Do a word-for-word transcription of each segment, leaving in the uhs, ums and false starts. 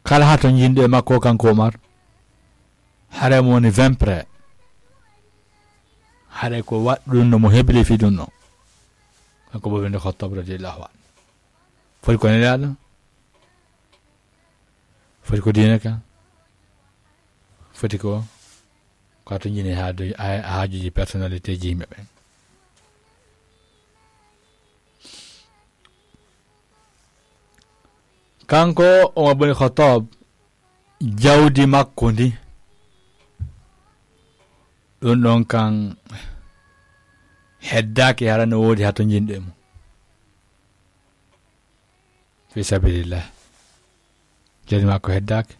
Kala hatonjinɗo e makko kanko Umar, haray mo woni vingt près. Haray ko waɗɗo ɗum no mo hebli fii ɗum no. Kanko Umar ibn Khattab radiyallahu anhu. Foti ko nelaaɗo. Foti ko diine ka. Foti ko, ko hatonjini haaju-, ha-, haajuuji personnalité ji yimɓe ɓen. Kanko Umar ibn Khattab, jawdi makko ndi, ɗum ɗon kan heddaaki hara no woodi hatonjinɗo e mum. Fi sabilillah. Jawdi makko heddaaki.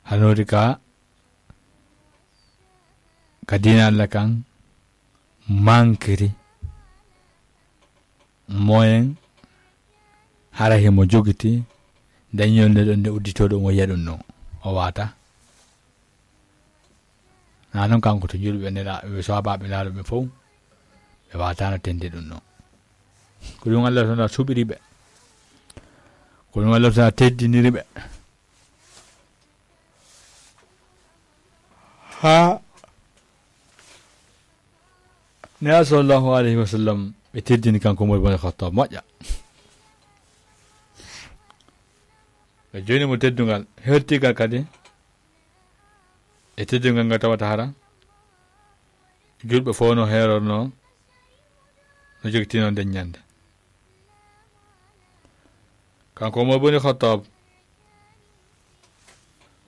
Hara no woodi ka, ka diina Allah kan mankiri. Moyen hara himo jogiti dañol nde ɗon nde udditoo ɗum o yiya ɗum no o waata. Na non kanko to julɓe nela-, ɓe sohaabaaɓe laaluɓe fow, ɓe waataano tende ɗum no. Ko ɗum Allah subhanahu wa ta'ala suɓiri ɓe. Ko ɗum Allah subhanahu wa ta'ala teddiniri ɓe. Haa Nelaaɗo sallallahu alayhi wa sallam, ɓe teddini kanko Umar ibn Khattab moƴƴa. Ɓe joni mo teddungal, hertigal kadi e teddungal ngal tawata hara julɓe fof no heerorno, no jogitino nden ñande. Kanko Umar ibn Khattab,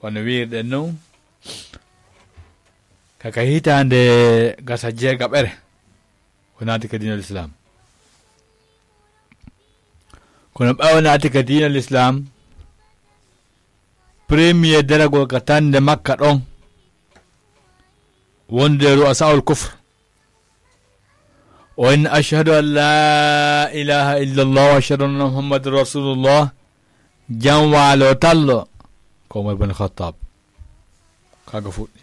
wano wiirɗen non, ka, ka hitaande gasa jeegaɓere, o naati ka diinal Islam. Kono ɓaawo naati ka diinal Islam, premier daragol ka tande Makka ɗon, wonde ru'asaul kufr, o inni: "Ashhadu an laa ilaaha illallah wa ashhadu anna Muhammadan rasulullah." Jam waalo tallo, ko Umar ibn Khattab. Kaga fuɗɗi.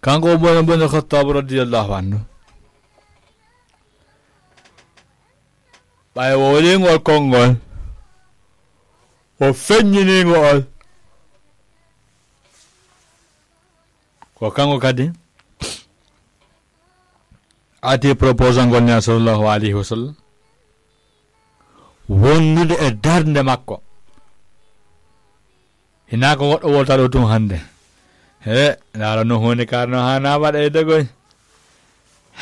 Kanko Umar ibn Khattab radiyallahu anhu, ɓay o wolingol konngol, o feññiningol, ko kanko kadi ati proposal ngol Nelaaɗo sallallahu alayhi wa sallam, wondude e darnde makko. Hinaa ko goɗɗo wota ɗo tun hannde. He, ndaara no huunde kaar no haanaa waɗa e dogoy.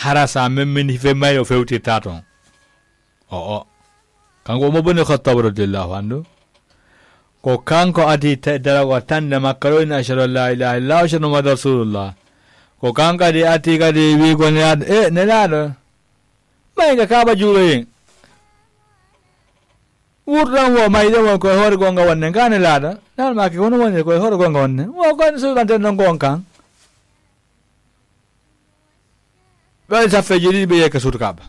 Hara sa memmini fe may o fewtirta toon. O, o. Kanko Umar ibn Khattab radiyallahu anhu. Ko kanko ati te-, daragol tande Makka ɗo, inni: "Ashhadu an laa ilaaha illallah wa ashhadu Muhammadan rasulullah." Ko kanko kadi ati kadi wiigol Nelaaɗo, e, Nelaaɗo. May ka Kaaba juuroyen. Wurɗan wo mayɗo won koye hoore gonga wonne, ngane laaɗa. Nan maaki kono woni koye hoore gonga wonne. Wo koye suuɗanten ɗon gon kan. Ɓe waɗi saffeeji ɗiɗi, ɓe yehi ka suudu Kaaba.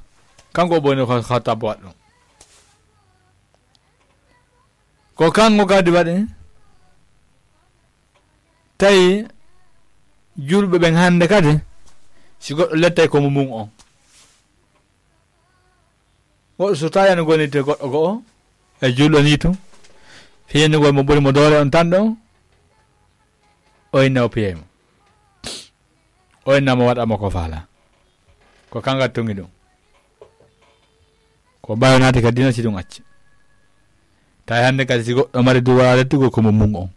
Kanko Umar ibn Khattab waɗi ɗum. Ko kanko kadi waɗi. Tawi julɓe ɓen hannde kadi, si goɗɗo lettay ko mo mum on. Goɗɗo so tawi ana gonirde goɗɗo go'o, e julɗo ni tun. Fiyannugol mo ɓuri mo doole on tan ɗon, o inna o piyay mo. O inna mo waɗa mo ko faala. Ko kanga tungi ɗum. Ko ɓaawo naati ka diina si ɗum acci. Tawi hannde kadi si goɗɗo mari duwara lettugo ko mo mum on.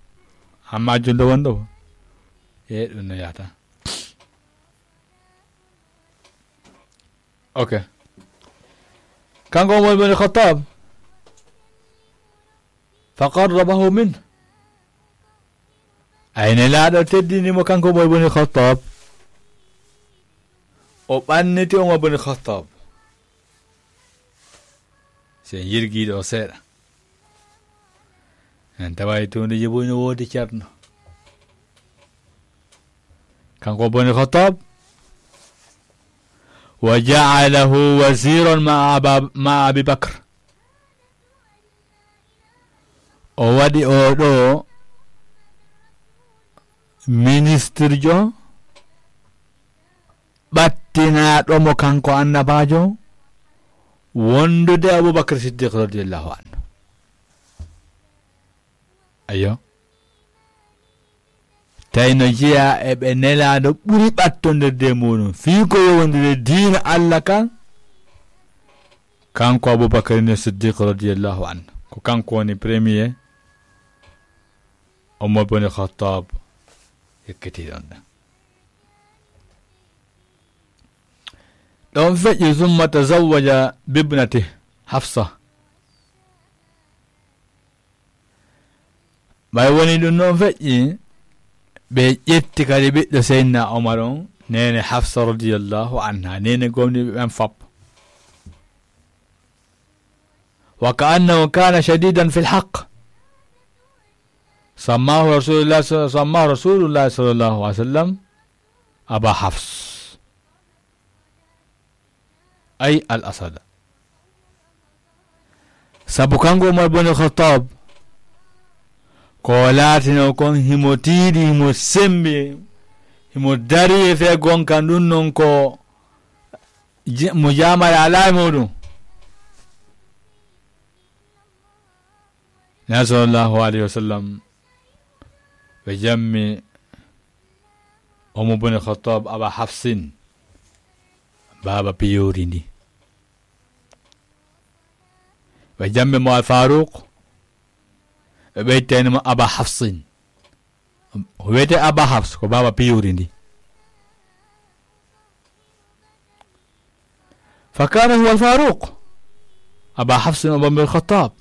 Amma julɗo wonɗo wo. E ɗum no yahata. Ok. Kanko Umar ibn Khattab. Fa qarrabahu min. Ay Nelaaɗo teddini mo kanko Umar ibn Khattab. O ɓanniti Umar ibn Khattab. Se yirgiiɗo o seeɗa. En taway tuundeji buy no woodi ceerno. Kanko Umar ibn Khattab. Wa ja'alahu waziran ma'a Aba-, ma'a Abi Bakr. O waɗi oo ɗoo ministirjo ɓattinaaɗo mo kanko annabaajo wondude Abubakar Siddiq radiyallahu anhu. Ayo. Tawi no jeyaa e ɓe nelaaɗo ɓuri ɓattondirde e muɗum. Fii ko yowondiri diina Allah kan, kanko Abubakar ni Siddiq radiyallahu anhu. Ko kanko woni premier Omar bin Khattab yekketii ɗon ɗan. Ɗon feƴƴi, summa tazawwaja bibnati Hafsa. Ɓay woni ɗum noon feƴƴi, ɓe ƴetti kadi ɓiɗɗo Seydina Omar on, neene Hafsa radiyallahu anha, neene gomɗinɓe ɓen fop. Wa ka annahu kana shadidan fil haqq. Sammahu Rasulullah, sammahu Rasulullah sallallahu alaihi wasallam Aba Hafs. Ay al asada. Sabu kanko Umar bin Khattab, ko laatino kon himo tiiɗi, himo sembi, himo dari e fee gonka, ɗum non ko je-, mo jaamare alaa e muɗum. Nabi sallallahu alaihi wasallam, ɓe jammi Umar bin Khattab Aba Hafsin, baaba piyoori ndi. Ɓe jammi mo Al Faruq, ɓe ɓeytani mo Aba Hafsin. O wiyete Aba Hafs, ko baaba piyoori ndi. Fa kana huwa Al Faruq. Aba Hafsin Umar bin Khattab.